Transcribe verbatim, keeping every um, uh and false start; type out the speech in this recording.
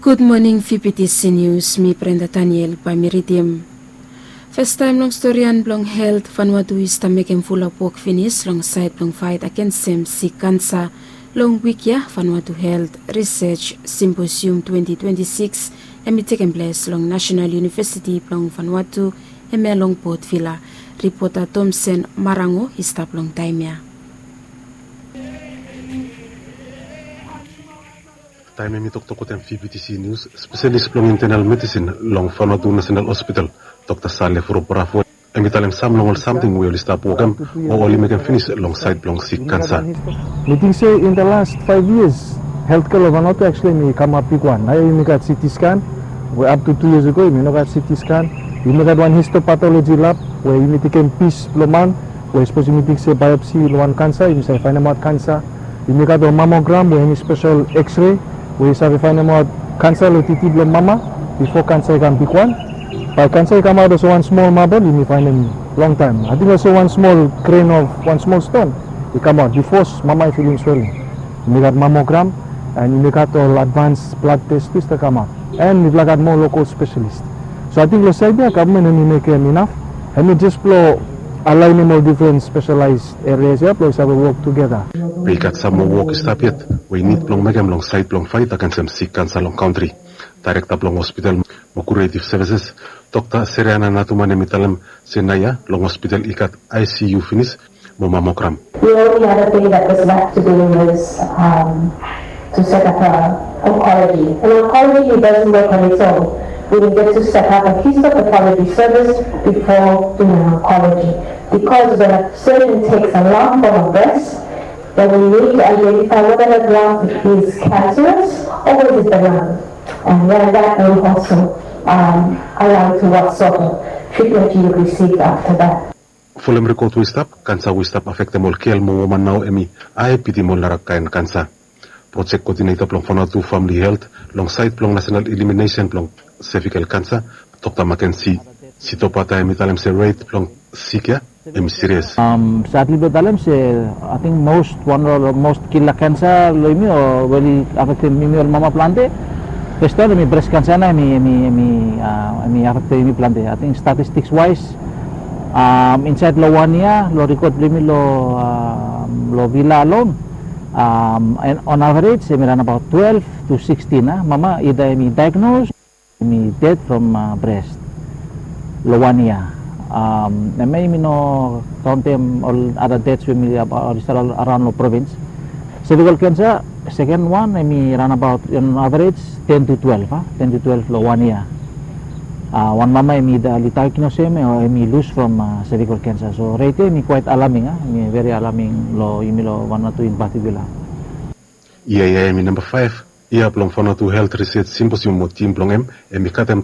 Gud moning, V P T C News, mi Brenda Daniel bae mi ridim. Fastaem long storian blong helt, Vanuatu i stap mekem fulap wok finis long saed blong faet agensem sik kansa. Long wik ya, Vanuatu Helt Risej Simposium twenti twenti sikis hem i tekem ples long Nasenal Univesiti blong Vanuatu, hemia long Port Vila. Ripota Tomsen Marango i stap long taem ya. Taem hem i toktok wetem V P T C News, spesalis blong intenal medisin long Vanuatu Nasenal Hospital, Dokta Sale Furubravo, hem i talem sam long ol samting we oli stap wokem o oli mekem finis long saed blong sik kansa. Mi ting se in the last five years, healthcare long Vanuatu actually hem i kamap bigwan. Naoia yumi gat C T scan, we up to two years ago yumi no gat C T scan. Yumi gat wan histopathology lab we yumi tekem pis blong man, we sapos yumi ting se biopsy long wan kansa, yumi save faenemaot kansa. Yumi gat ol mammogram we hemi spesel X-ray we yu save faenemaot kansa long titi blong mama bifo kansa i kam bigwan. Bae kansa i kamaot olsem wan smol mabol, yumi faenem longtaem. Ating olsem wan smol gren of wan smol ston i kamaot bifo mama i filim sweling. Yumi gat mammogram, and yumi gat ol advans blad tes tu i stap kamaot. And mifala gat moa lokol spesalis. So ating long saed ya gavman hemi mekem inaf, hemi jes blong alaenem ol difren spesalaes erias ya blong i save wok tugeta. Be i gat sam moa wok i stap yet we i nid blong mekem long saed blong faet agensem sik kansa long kantri. Daerekta blong hospital mo kuretiv sevises, Dokta Seriana Natuman, hem i talem se naoia long hospital i gat I C U finis mo mammogram. The only other thing that was left to do was um, to set up a oncology. And oncology doesn't work on its own. We will get to set up a histopathology service before doing oncology. Because when a surgeon takes a lump from a breast, then we need to identify whether that lump is cancerous or is it benign. And then that will also um, allow to what sort of treatment you receive after that. Folem rekod we i stap, kansa we i stap afektem ol gel mo woman nao hemi ae bitim ol narakaen kansa. Projek kodineta blong Vanuatu Famili Helt long saed blong nasenal eliminesen blong sevikel kansa, Dokta Makensi Sitopata, hem i talem se ret blong sik ya hemi sirias. Sadli blong talem se ating mos wan long mos kila kansa long yumi o we oli afektem yumi ol mama plante. Fes wan hemi bres kansa nao hemi hemi hemi afektem yumi plante. Ating statistiks waes insaed long wan yia long rekod blong yumi long vila alon, on avrej hemi raon abaot twelve to sixteen a mama ida hemi daegnos, hemi ded from bres long wan yia. Hemia yumi no kaontem ol ada deds we hemi oli stap araon long provins. Sevikel kansa seken wan hemi raon abaot on avrej ten to twelve a ten to twelve long wan yia. Wan mama hemi ida oli daegnos hem o hemi lus from sevikel kansa. So ret ya hemi kwaet alaming a hemi veri alaming long yumi long Vanuatu in patikula. Yia ya hemi namba faef yia blong Vanuatu Helt Risej Simposium mo tim blong hem hemi katem